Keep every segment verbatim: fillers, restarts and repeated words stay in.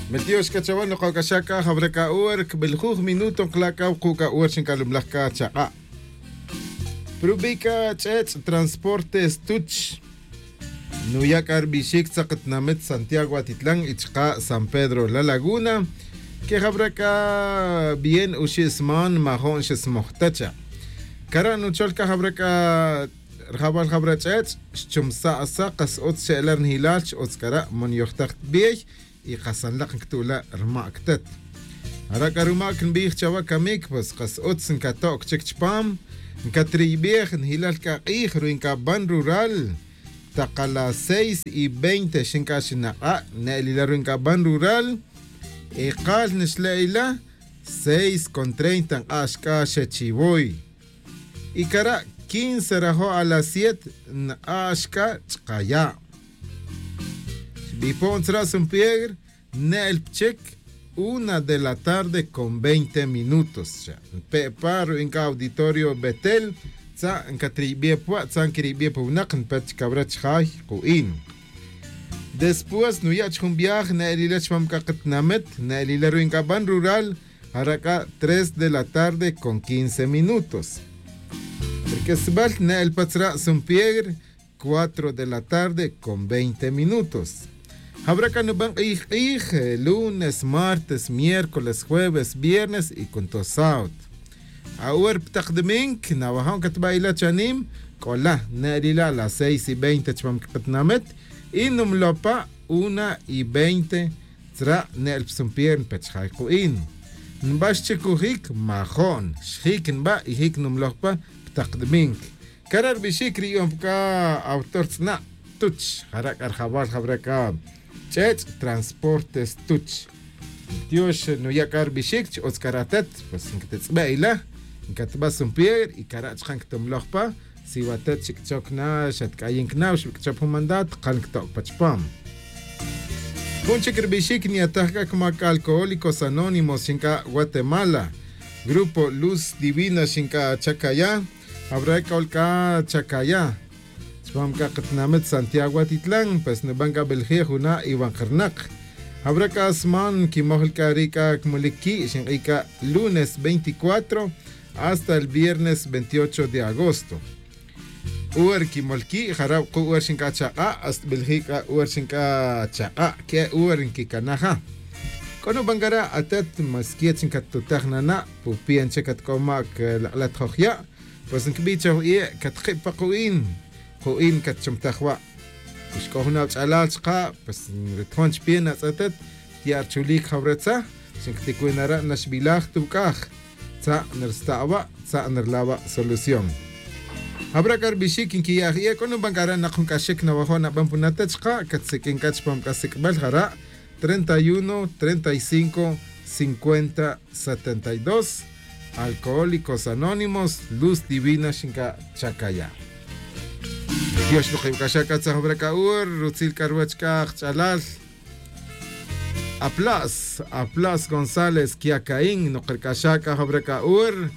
Miltiox c'a chawe nokoc'axaj c'a jawra c'a hora cbeljuj minuto nkala' c'a wuku' c'a hora xincalumlaj c'a chak'a'. Prubi' c'a ch'ech' transporte stuch nuya' c'a rbixic tzak tinamit santiago atitlan y chaka' san pedro la laguna. Que jawra c'a bien oxi' sman majo'n xesmoj ta cha'. Cara' nuchol c'a jawra c'a rjawal jawra ch'ech' xchumsa' sa' kas utz xe'ela' rnijilal x'utz c'ara' man yojtaj ta biey. Y kasanlak ncutu' la' rmac tet. Ara' c'a rumac nbij chawe camic pues kas utz ncatoc chic chupam. Ncatriybej njilal c'a k'ij ruwi' ncaban rural. Tak a las seis y veinte xin c'a xinak'a' ne'el ila' ruwi' ncaban rural. Y kal nixle' ila' seis con treinta nk'ax c'a xechiwoy. Y cara' quince rajo' a las siete nk'ax c'a chkaya'. Xbipo'n tzra' san piedra ne'el pa chic una de la tarde con veinte minutos. Npe' pa ruwi' nca' auditorio betel tza' ncatriybi' pa wa' tza' nquiriybi' pa winak npet chic awra chajay ku'in. Después nuya' chi jun viaje ne'el ila' chupam c'a katinamit ne'el ila' ruwi' ncaban rural. Jara' c'a tres de la tarde con quince minutos. Rq'uesbal ne'el pa tzra' san piedra cuatro de la tarde con veinte minutos. Jawra c'a nuban k'ij k'ij lunes martes miércoles jueves viernes y cunto sábado. Awor pa tak domingo nawajon catba' ila' chanim c'ola ne'el ila' las seis y veinte chupam cakatinamit. Y numloj pa una y veinte tzra' ne'el pa san piedra npet chajay ku'in. Nbax chic ujic majo'n xjic nba' y jic numloj pa pa tak domingo. Cara' rbixic ri yu'un pa c'a awtor tz'na' tuch jara' c'a rjawal jawra c'a ch'ech' transportes tuch. Tiox nuya' c'a rbixic chi utz c'a ratet pues ncatetz'be' ila' ncatba' san piedra y cara' chaka' ncatumloj pa. Si watet chic choc na xatc'ayin cna o xbic'chop jun mandat kal ncato' pa chupam. Jun chic rbixic nyataj c'a cumac alcohólicos anónimos xinc'a' guatemala grupo luz divina xinc'a' chacaya'. Jawra c'ol c'a chacaya' chupam c'a katinamit santiago atitlan pues nuban c'a belje' juna' iwan karnak. Jawra c'a sman nquimoj li c'a ri' c'a cmolic qui' xink'i c'a lunes veinticuatro hasta el viernes veintiocho de agosto. Hora nquimol qui' jara' wuku' hora xinc'a' chak'a' hasta belje' c'a hora xinc'a' chak'a' que'e hora nquicanaja. C'o nuban cara' atet mas quiet xincattutaj nana' pupian che catc'o mac lak'lat joj ya'. Pues ncabi' choj ie' catkib pa ku'in ku'in catchumtaj wa'. Pues c'o jun awach'alal chaka' pues ritojon chipian atz'etet tya' rchulic jawra tza. Xincatic wi nara' naxbilaj tuwc'aj tza' narsta' awa' tza' narla' awa' solución. Jawra c'a rbixic nquiya' aj ie' c'o nuban c'a re' nak jun c'axic nawajo' naban puna tet chaka' catsiq'uin c'a chupam c'a sic'bel jara' treinta y uno treinta y cinco cincuenta setenta y dos. Alcohólicos anónimos luz divina xinc'a' chacaya'. Tiox nukibc'axa' c'a tzajwra c'a ur rutzil c'a ruwech c'a ajch'alal. Apla's apla's gonzález quiacaín nukrc'axa' c'a jawra c'a ur.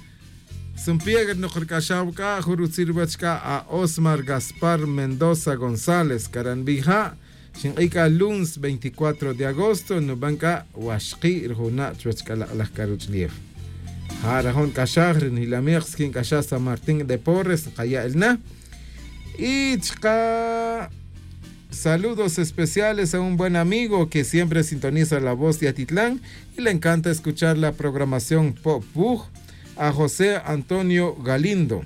San piedra nukrc'axa' wac'a jun rutzil ruwech c'a a osmar gaspar mendoza gonzález caranbija'. Xink'i' c'a lunes veinticuatro de agosto nuban c'a waxki' ri juna' chuwech c'a lak'laj c'a ruch'ulef. Ja' rajon c'axaj ri nijilamej skin c'axaj san martín de porres nkaya' el na. Y chka' saludos especiales a un buen amigo que siempre sintoniza la voz de atitlán y le encanta escuchar la programación po'puj. A josé antonio galindo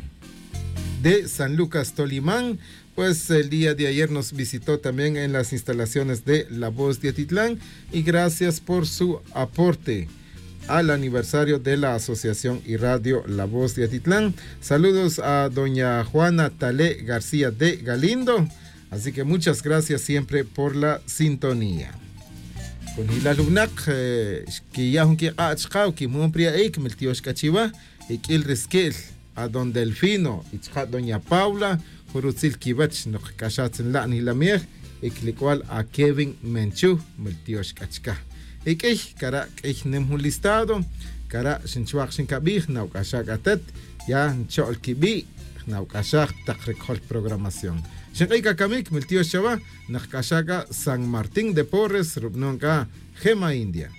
de san lucas tolimán. Pues el día de ayer nos visitó también en las instalaciones de la voz de atitlán y gracias por su aporte al aniversario de la asociación y radio la voz de atitlán. Saludos a doña juana talé garcía de galindo. Así que muchas gracias siempre por la sintonía. Kunjilal winak xkiya' jun kik'a' chka' o kimon pri a'ic miltiox k'a chiwa. Iq'uil ri squi'l a don delfino y chka' doña paula jun rutzil quiwech nukc'axaj tzin la' nilamej. Y quilic'ual a kevin menchuh miltiox c'a chka'. Y q'uiy cara' q'uiy nim jun listado. Cara' xinchwak xincabij nawc'axaj c'a tet ya ncho'l quibi'. Nawc'axaj tak ri cojol programación. Xink'ay c'a camic miltiox chawa. Nak c'axa c'a san martín de porres rubanon c'a gema india.